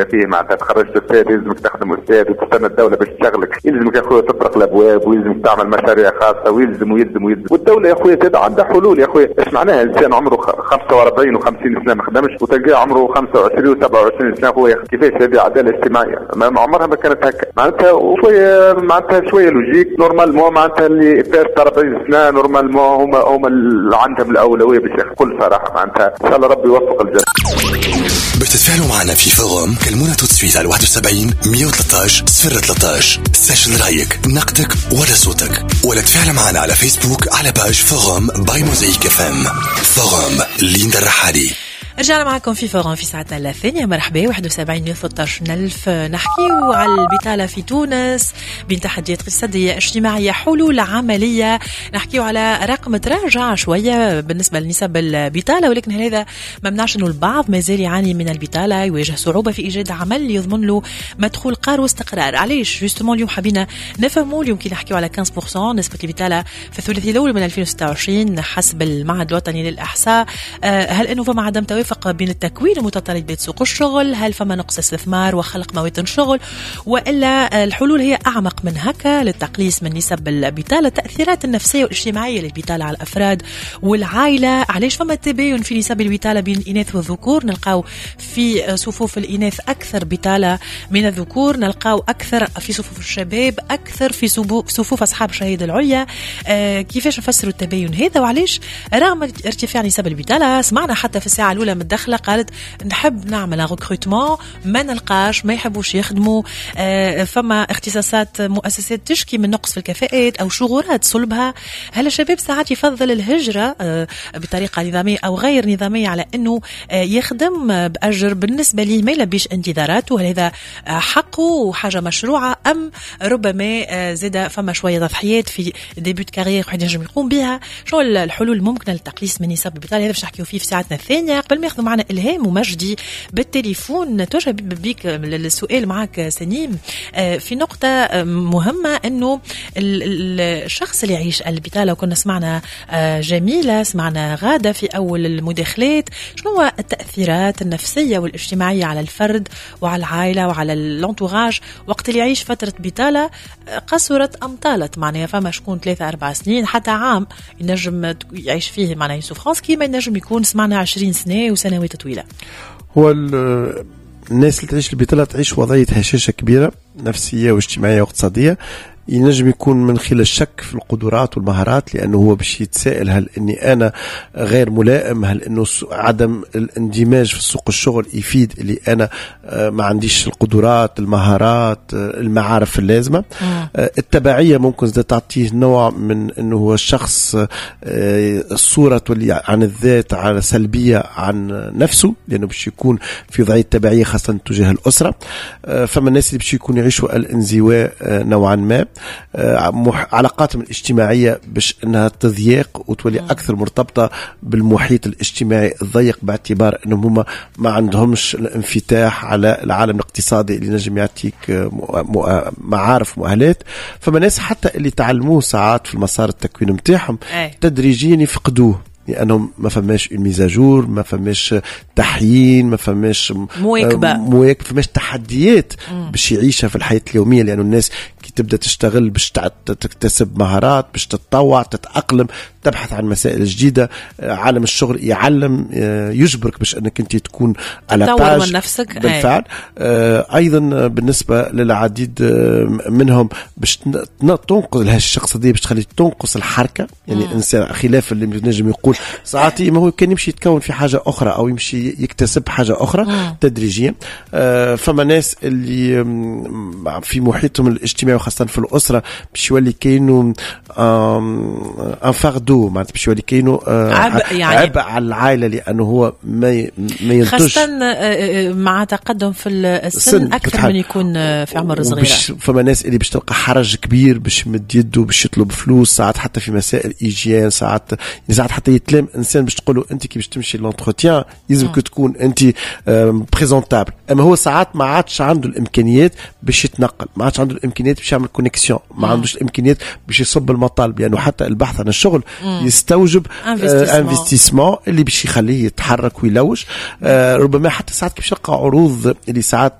فيه معناتها تخرجت استاذ يلزمك تخدم استاذ وتستنى الدولة باش تشغلك، يلزمك يا خويا تطرق الابواب ويلزمك تعمل مشاريع خاصة ويلزم ويلزم ويلزم. والدولة يا خويا زاد عندها حلول يا خويا. ايش معناها انسان عمره 45 و50 سنة ما خدمش وتلقاه عمره 25 و27 سنة خويا؟ كيفاش هذه عدالة اجتماعية؟ ما عمرها ما كانت هكا معناتها. وشوية معناتها شوية logique، normalement معناتها اللي فات 40 سنة normalement هما اللي عندهم الاولوية باش بكل صراحة معناتها. ان شاء الله ربي يوفق الجميع. باش تتفاعلوا معنا في forum كلمونا tout de suite على 71 113 013. سجل رايك، نقدك ولا صوتك، ولا تفاعل معنا على فيسبوك على page forum by Mosaïque FM. forum ليندا الرحالي. رجعنا معكم في forum في ساعتنا الثانية. مرحبا. 71 113 ألف. نحكيو على البطالة في تونس بين تحديات اقتصادية، اجتماعية، حلول عملية. نحكيو على رقم تراجع شوية بالنسبة لنسب البطالة، ولكن هذا ما منعش أنه البعض ما زال يعاني من البطالة، يواجه صعوبة في إيجاد عمل يضمن له مدخول قار واستقرار. علاش justement اليوم حبينا نفهموا؟ اليوم كي نحكيو على 15% نسبة البطالة في الثلاثي الأول من 2026 حسب المعهد الوطني للإحصاء، هل أنه فما عدم توافق بين التكوين ومتطلبات سوق الشغل؟ هل فما نقص استثمار وخلق مواطن شغل؟ والا الحلول هي اعمق من هكا للتقليص من نسب البطاله؟ التاثيرات النفسية والاجتماعية للبطاله على الافراد والعائله، علاش فما تباين في نسب البطالة بين الاناث والذكور؟ نلقاو في صفوف الاناث اكثر بطاله من الذكور، نلقاو اكثر في صفوف الشباب، اكثر في صفوف اصحاب الشهادة العليا. كيفاش نفسروا التباين هذا؟ وعلاش رغم ارتفاع نسب البطاله، سمعنا حتى في الساعة الاولى من الدخلة قالت نحب نعمل recrutement ما نلقاش، ما يحبوش يخدموا. فما اختصاصات مؤسسات تشكي من نقص في الكفاءات او شغورات صلبها. هل الشباب ساعات يفضل الهجرة بطريقة نظامية او غير نظامية على انه يخدم باجر بالنسبة ليه ما يلبيش انتظاراته؟ هل هذا حقه وحاجه مشروعه ام ربما زاد فما شوية تضحيات في début de carrière واحد ينجم يقوم بها؟ شنو الحلول الممكنة للتقليص من نسب البطاله؟ هذا باش نحكيو فيه في ساعتنا الثانيه. قبل ما ياخذوا معنا الهام ومجدي بالتليفون، توجه بيك السؤال معك سنيم في نقطة مهمه، انه الشخص اللي يعيش البطاله، وكنا سمعنا جميله، سمعنا غاده في اول المداخلات، شنو هو التاثيرات النفسية والاجتماعية على الفرد وعلى العائلة وعلى l'entourage وقت اللي يعيش فترة بطاله قصرت ام طالت؟ معناها فما شكون 3 4 سنين حتى عام ينجم يعيش فيه معناها souffrance، كيما ينجم يكون سمعنا 20 سنة وسنوات طويله. هو الناس اللي تعيش البطالة تعيش وضعية هشاشة كبيرة نفسية واجتماعية واقتصاديه. ينجم يكون من خلال الشك في القدرات والمهارات، لانه هو باش يتساءل هل اني انا غير ملائم، هل انه عدم الاندماج في سوق الشغل يفيد اللي انا ما عنديش القدرات، المهارات، المعارف اللازمه. التبعية ممكن زاد تعطيه نوع من انه هو الشخص الصورة تولي عن الذات على سلبية عن نفسه، لانه باش يكون في وضعية تبعية خاصة تجاه الاسره. فما الناس اللي باش يكون يعيشوا الانزواء نوعا ما، علاقاتهم الاجتماعية باش انها تضيق وتولي اكثر مرتبطة بالمحيط الاجتماعي الضيق، باعتبار انهم هما ما عندهمش الانفتاح على العالم الاقتصادي اللي نجم يعطيك معارف، مؤهلات. فما ناس حتى اللي تعلموه ساعات في المسار التكوين نتاعهم تدريجيا يفقدوه، لانهم ما فماش une mise à jour، ما فماش تحيين، ما فماش مواكبه. مواكبه، ما فماش تحديات باش يعيشها في الحياة اليوميه، لانه الناس كي تبدا تشتغل باش تكتسب مهارات، باش تتطوع، تتاقلم، تبحث عن مسائل جديده. عالم الشغل يعلم، يجبرك باش انك انت تكون à la page من نفسك. بالفعل. ايضا بالنسبة للعديد منهم باش تنقص الهشاشه الاقتصاديه، باش تخلي تنقص الحركه، يعني انسان خلاف اللي نجم يقول ساعات ما هو كان يمشي يتكون في حاجة اخرى او يمشي يكتسب حاجة اخرى تدريجيا. فما ناس اللي في محيطهم الاجتماعي وخاصة في الاسرة باش يولي كاينو un fardeau، معناتها باش يولي كاينو عبء يعني. عبء على العائله، لانه هو ما ينتج. خاصة مع تقدم في السن اكثر من يكون في عمر صغير. فما ناس اللي باش تلقى حرج كبير باش يمد يده باش يطلب فلوس، ساعات حتى في مسائل hygiène، ساعات يعني ساعات حتى يتلام انسان باش تقول له انت كي باش تمشي l'entretien يلزمك تكون انت présentable، اما هو ساعات ما عادش عنده الامكانيات باش يتنقل، ما عادش عنده الامكانيات باش يعمل connexion، ما عندوش الامكانيات باش يصب المطالب، لانه حتى البحث عن الشغل يستوجب investissement اللي باش يخليه يتحرك ويلوج. ربما حتى ساعات كيف يلقى عروض اللي ساعات